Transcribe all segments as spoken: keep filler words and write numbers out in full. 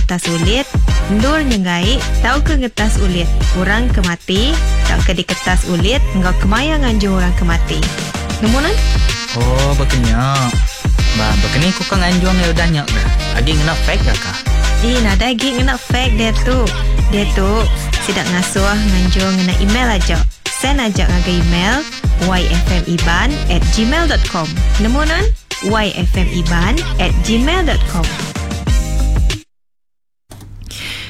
ngetas ulit, endur nyenggai tauka ngetas ulit orang ke mati tauka diketas ulit enggau kemaya nganjung orang ke mati. Nemu nan? Oh, bekenya. Ba, bekeni ku ka nganjung ya udah nya ke. Agi ngena fax ke ka? Eh, nadai agi ngena fax dia tu. Dia tu sidak ngasuh nganjung ngena email aja. Send aja ngagai email yfmiban at gmail dot com. Nemu nan? yfmiban at gmail dot com.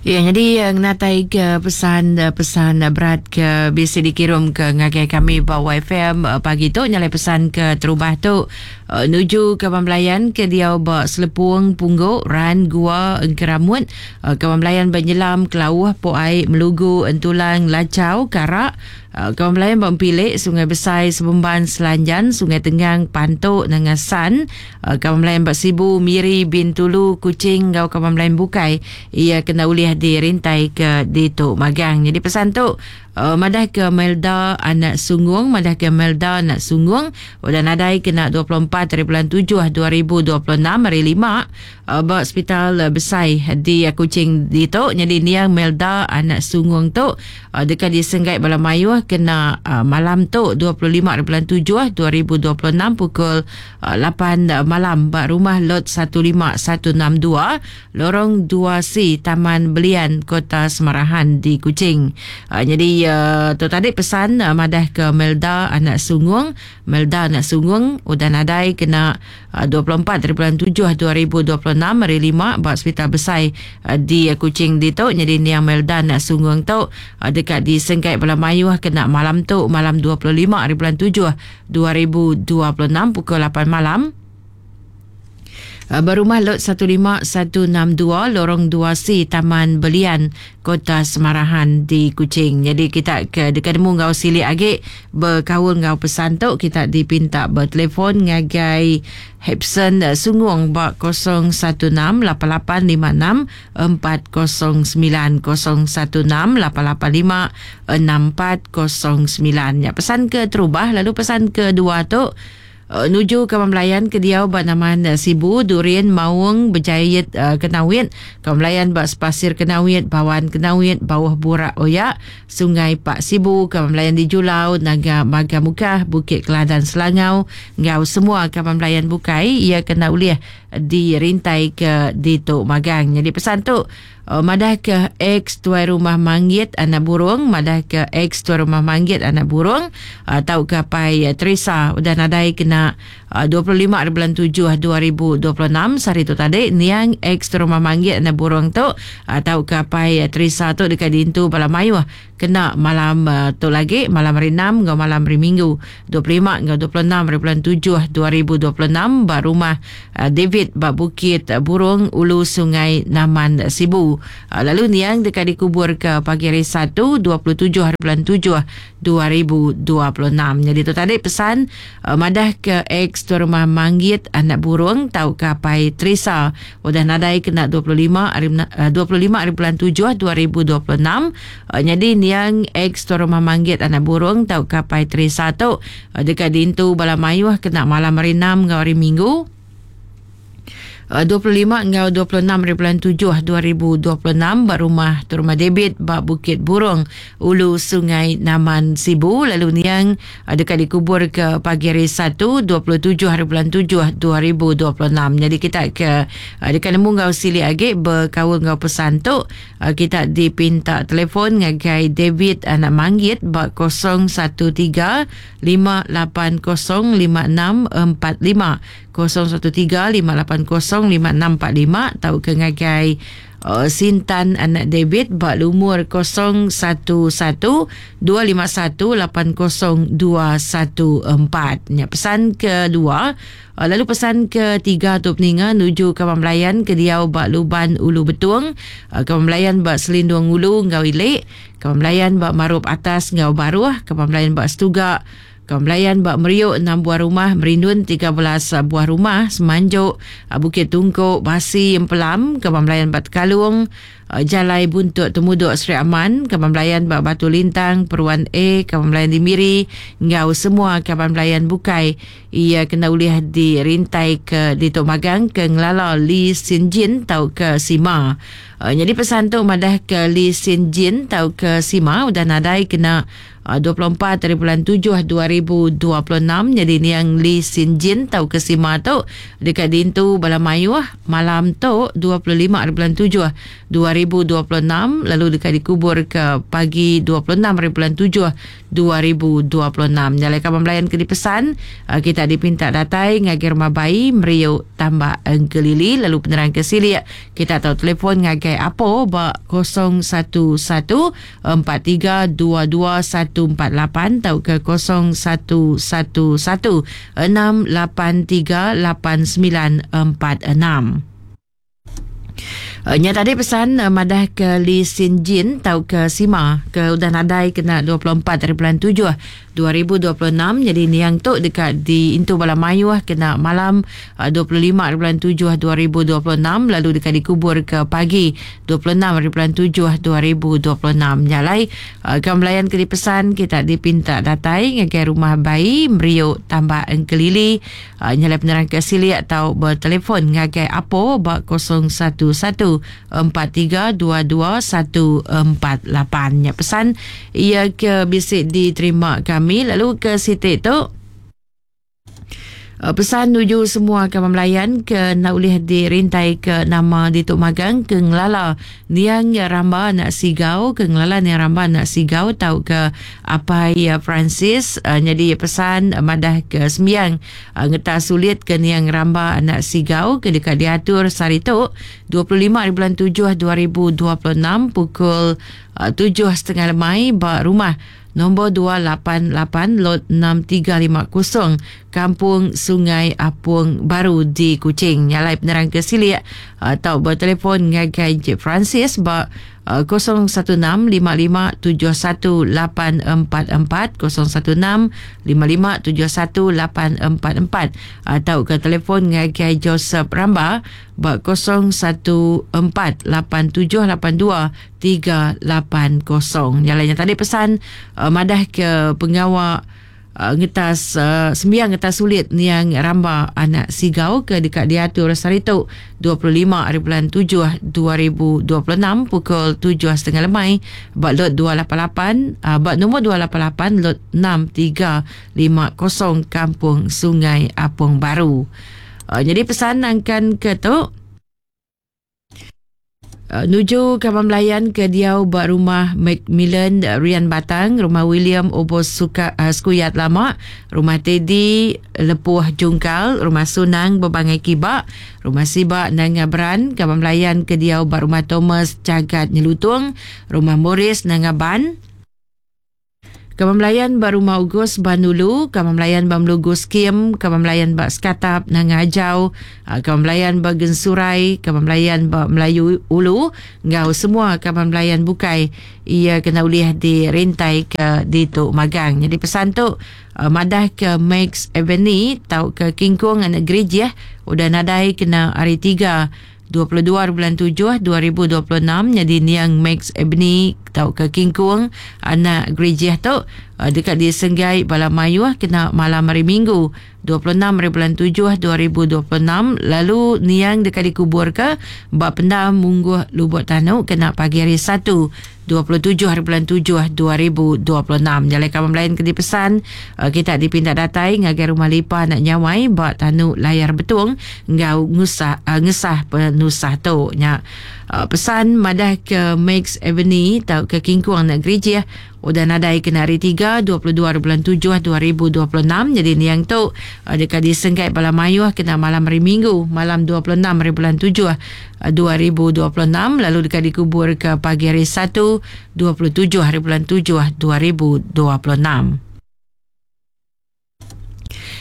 Ya, jadi ngenatai ke pesan-pesan berat ke bisa dikirim ke ngagai kami ba Y F M pagi tu nyalai pesan ke terubah tu nuju ke pembelayan ke dia ba Selepung Pungguk Ran Gua Engkeramut, ke pembelayan ba Nyelam Kelauh Po Ai Melugu Entulang Lacau Karak, ke pembelayan ba Empilik Sungai Besai Sebemban Selanjan Sungai Tenggang Pantuk Nangasan, ke pembelayan ba Sibu Miri Bintulu Kuching ngau ke pembelayan bukai ia kena ulih dirintai ke ditu magang. Jadi pesan tu uh, madah ke Melda anak Sungung, madah ke Melda anak Sungung udah nadai kena dua puluh empat hari bulan tujuh dua ribu dua puluh enam hari lima uh, ba hospital besai di Kuching ditu. Jadi niang Melda anak Sungung tu uh, dekat disenggai bala mayuh kena uh, malam tu dua puluh lima hari bulan tujuh dua ribu dua puluh enam pukul uh, lapan malam ba rumah lot satu lima satu enam dua Lorong dua C Taman Belian Kota Semarahan di Kuching. Uh, jadi uh, tu tadi pesan uh, madah ke Melda anak Sungung, Melda anak Sungung udah nadai kena uh, dua puluh empat hari bulan tujuh dua ribu dua puluh enam hari lima ba hospital besai uh, di uh, Kuching ditu. Jadi niang Melda anak Sungung tu uh, dekat di Sengkai Bala Mayuh kena malam tu malam dua puluh lima hari bulan tujuh dua ribu dua puluh enam pukul lapan malam. Berumah lot satu lima satu enam dua Lorong dua C Taman Belian Kota Semarahan di Kuching. Jadi kita ke dekat nemu ngau silik agi berkaul ngau pesan tu kita dipinta bertelefon ngagai Hepson Sungung ba kosong satu enam lapan lapan lima enam empat kosong sembilan kosong satu enam lapan lapan lima enam empat kosong sembilan. Ya, pesan ke terubah lalu pesan kedua tu Uh, nuju ke pembelayan ke diau ba naman uh, Sibu, Durian, Maung, Berjayit uh, Kenawit, ke pembelayan ba Sepasir Kenawit, Bawan Kenawit, Bawah Burak Oyak, Sungai Pak Sibu, ke pembelayan di Julau, Naga Maga Mukah, Bukit Keladan Selangau, ngau semua ke pembelayan bukai ia kena ulih dirintai ke di Tok Magang. Jadi pesan tu uh, madah ke ex tuai rumah Manggit anak burung, madah ke ex tuai rumah Manggit anak burung uh, tau ke pai uh, Teresa udah nadai kena uh, dua puluh lima hari bulan tujuh dua ribu dua puluh enam sehari tu tadi niang ex tuai rumah Manggit anak burung tu uh, tau ke pai uh, Teresa tu dekat dintu bala mayuh kena malam uh, tu lagi malam hari enam ngau malam hari Minggu dua puluh lima ngau dua puluh enam hari bulan tujuh dua ribu dua puluh enam ba rumah uh, David ba Bukit Burung Ulu Sungai Naman Sibu. Uh, lalu niang dekat dikubur ke pagi hari Sabtu dua puluh tujuh hari bulan tujuh dua ribu dua puluh enam. Jadi tu tadi pesan uh, madah ke ex tuan rumah Manggit anak burung tau ke pai Teresa udah nadai kena dua puluh lima hari uh, dua puluh lima hari bulan tujuh dua ribu dua puluh enam. Uh, jadi niang ex tuan rumah Manggit anak burung tau ke pai Teresa tu uh, dekat dintu bala mayuh kena malam hari enam ngau hari Minggu dua puluh lima ngau dua puluh enam hari bulan tujuh dua ribu dua puluh enam ba rumah rumah David ba Bukit Burung Ulu Sungai Naman Sibu. Lalu niang dekat dikubur ke pagi hari Sabtu dua puluh tujuh hari bulan tujuh dua ribu dua puluh enam. Jadi kita ke dekat nemu ngau silik agi berkaul ngau pesan tu kita dipinta telefon ngagai David anak Manggit ba kosong satu tiga lima lapan kosong lima enam empat lima kosong satu tiga lima lapan kosong lima enam empat lima tau ke ngagai uh, Sintan anak David bak lumur kosong satu satu dua lima satu lapan kosong dua satu empat. Ya, pesan kedua. Uh, lalu pesan ketiga tu peninga nuju ke pembelayan ke diau bak Luban Ulu Betung, uh, ke pembelayan bak Selindung Ulu ngau Ilik, ke pembelayan bak Marup Atas ngau Baruh, ke pembelayan bak Setuga, Kembelayan bak Meriuk enam buah rumah, Merindun tiga belas buah rumah, Semanjuk, Bukit Tungkok, Basi, Empelam, Kembelayan bak Tekalung, Jalai Buntut Temuduk Seri Aman, Kembelayan bak Batu Lintang, Peruan A, Kembelayan di Miri, ngau semua kembelayan bukai ia kena ulih dirintai ke di Tok Magang ke Ngelala Lee Sin Jin tau ke Sima. Uh, jadi pesan tu madah ke Lee Sin Jin tau ke Sima udah nadai kena uh, dua puluh empat hari bulan tujuh dua ribu dua puluh enam. Jadi niang Lee Sin Jin tau ke Sima tu dekat dintu bala mayuh malam tu dua puluh lima hari bulan tujuh dua ribu dua puluh enam, lalu dekat dikubur ke pagi dua puluh enam hari bulan tujuh dua ribu dua puluh enam. Nyalai kaban belayan ke dipesan, kita dipinta datai ngagai rumah bayi Meriuk Tambak Engkelili, lalu penerang ke silik kita tahu telefon ngagai Apo ba kosong satu satu empat tiga dua dua satu empat lapan atau ke kosong satu satu satu enam lapan tiga lapan sembilan empat enam. Uh, nya tadi pesan uh, madah ke Lee Sin Jin tau ke Sima ke udah nadai kena dua puluh empat hari bulan tujuh dua ribu dua puluh enam. Jadi niang tu dekat di Intu Bala Mayuh kena malam uh, dua puluh lima hari bulan tujuh dua ribu dua puluh enam, lalu dekat dikubur ke pagi dua puluh enam hari bulan tujuh dua ribu dua puluh enam. Nyalai uh, kembelayan ke dipesan kita dipinta datai ngagai rumah bayi Meriuk Tambak Engkelili. Uh, nyalai penerang ke silik atau bertelefon ngagai Apo ba kosong satu satu empat tiga dua dua satu empat lapan. Ya, pesan ia ke bisik diterima kami. Lalu ke sitik tu pesan nuju semua kawan melayan ke nak boleh dirintai ke nama di Tok Magang ke ngelala niang Ramba nak sigau ke ngelala niang Ramba nak sigau tau ke apai Francis. Uh, jadi pesan uh, madah ke sembiang uh, ngetah sulit ke niang Ramba anak sigau ke dekat diatur sehari tu dua puluh lima hari bulan tujuh dua ribu dua puluh enam pukul uh, tujuh setengah lemai ba rumah nombor dua lapan lapan lot enam tiga lima kosong Kampung Sungai Apung Baru di Kuching. Nyalai penerang ke silik atau bertelefon ngagai Encik Francis ba kosong satu enam lima lima tujuh satu lapan empat empat kosong satu enam lima lima tujuh satu lapan empat empat atau ke telefon ngagai Joseph Ramba ba kosong satu empat lapan tujuh lapan dua tiga lapan kosong. Nyalainya tadi pesan uh, madah ke pengawal Uh, ngetas uh, sembiang ngetas sulit niang Ramba anak sigau ke dekat diatur sehari tu dua puluh lima hari bulan tujuh dua ribu dua puluh enam pukul tujuh setengah lemai bak lot dua lapan lapan uh, bak nombor dua lapan lapan lot enam tiga lima kosong Kampung Sungai Apung Baru. Uh, jadi pesan angkan ke tu Uh, nuju kawan melayan ke diau bak rumah Macmillan Rian Batang, rumah William Obos Suka, uh, Skuyat Lama, rumah Teddy Lepuh Jungkal, rumah Sunang Berbangai Kibak, rumah Sibak Nanga Beran, kawan melayan ke diau bak rumah Thomas Cagat Nyelutung, rumah Morris Nanga Ban, Kawan Melayan bak rumah Ugus Banulu, Kawan Melayan bak Melugus Kim, Kawan Melayan bak Skatap Nanga Ajau, Kawan Melayan bak Gensurai, Kawan Melayan bak Melayu Ulu, ngau semua Kawan Melayan bukai ia kena uliah dirintai ke di Tok Magang. Jadi pesan tu madah ke Max Avenue tau ke Kingkong anak gereja udah nadai kena hari tiga dua puluh dua bulan tujuh dua ribu dua puluh enam. Jadi niang Max Ebony tau ke Kingkung anak gereja tu dekat di Senggai Bala Mayuh kena malam hari Minggu dua puluh enam hari bulan tujuh dua ribu dua puluh enam. Lalu niang dekat dikubur ke bak pendam Mungguh Lubuk Tanuk kena pagi hari Satu dua puluh tujuh hari bulan tujuh dua ribu dua puluh enam. Jalan kawan lain ke dipesan kita dipinta datai ngagai rumah lipa nak nyawai bak Tanuk Layar Betung ngau ngusah ngesah penusah tu nya. Pesan madah ke Max Avenue tau ke Kingkuang nak gereja udah nadai kena hari tiga dua puluh dua bulan tujuh dua ribu dua puluh enam. Jadi niang tu dekat di Sengkai Bala Mayuh kena malam hari Minggu malam dua puluh enam hari bulan tujuh dua ribu dua puluh enam, lalu dekat dikubur ke pagi hari Satu dua puluh tujuh hari bulan tujuh dua ribu dua puluh enam.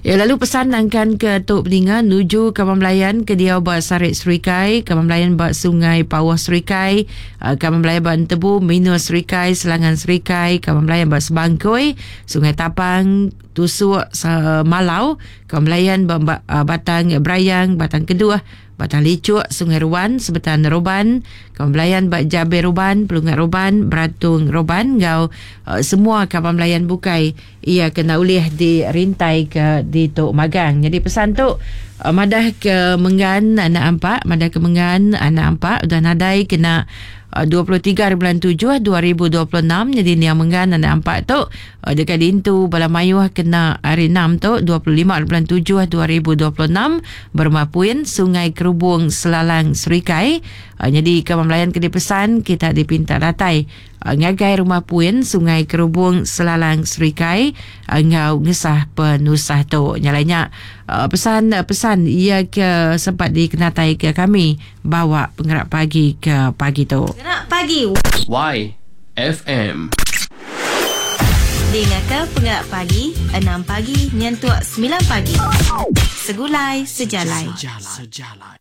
Ya, lalu pesan angkan ke Tok Peninga nuju Kawan Melayan ke dia bak Sarik Serikai, Kawan Melayan bak Sungai Pawah Serikai, Kawan Melayan bak Entebu, Minus Serikai, Selangan Serikai, Kawan Melayan bak Sebangkoi, Sungai Tapang, Tusuk Malau, Kawan Melayan bak Batang Berayang, Batang Kedua, Batang Licuk, Sungai Ruan, Sebetan Roban, Kawan Melayan bak Jabir Roban, Pelungat Roban, Beratung Roban, ngau uh, semua kawan Melayan bukai ia kena ulih dirintai ke di Tok Magang. Jadi pesan tu Uh, madah ke Menggan anak ampak, madah ke Menggan anak ampak udah nadai kena uh, dua puluh tiga bulan tujuh dua ribu dua puluh enam. Jadi niang Menggan anak ampak tu uh, dekat dintu bala mayuh kena hari enam tu dua puluh lima bulan tujuh dua ribu dua puluh enam berumah Puin Sungai Kerubung Selalang Serikai. Uh, jadi ke melayan ke dipesan kita dipinta datai uh, ngagai rumah Puin Sungai Kerubung Selalang Serikai uh, ngau ngesah penusah tu. Nyalainya uh, pesan-pesan ia ke sempat dikenatai ke kami bawa penggerak pagi ke pagi tu. Penggerak pagi Y F M. Dengar ke penggerak pagi enam pagi nyentuk sembilan pagi. Segulai sejalai. Sejalai. Sejalai.